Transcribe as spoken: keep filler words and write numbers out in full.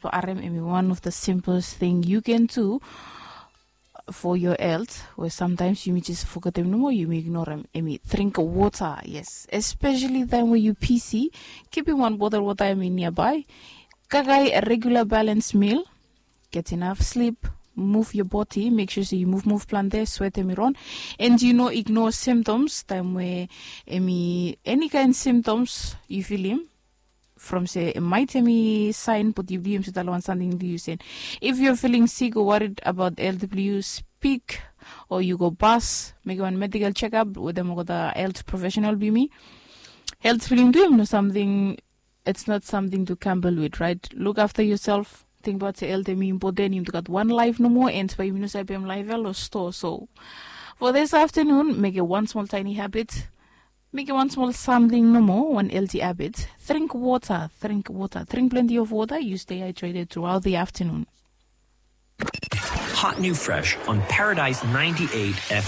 So arem em i one of the simplest thing you can do for your health, we sometimes yumi just forgetem nomo, yumi ignorem, em i drink water. Yes, especially time we you pc, keeping one bottle water em i nearby. Kakai a regular balance meal, get enough sleep, move your body, make sure say you move move plan there, sweat em i run. And you know, ignore symptoms time we em i any kind symptoms you feel him from se maitemi sign, but you believe se dalo one something do you sen. If you're feeling sick or worried about health blue, you speak or you go bus, make one medical checkup with them or the health professional be me. Health feeling do him no something. It's not something to gamble with, right? Look after yourself. Think about the health me important. You got one life no more, and by you know say life or store. So for this afternoon, make it one small tiny habit. Make it one small something no more, one healthy habit. Drink water, drink water, drink plenty of water. You stay hydrated throughout the afternoon. Hot new fresh on Paradise ninety-eight F M.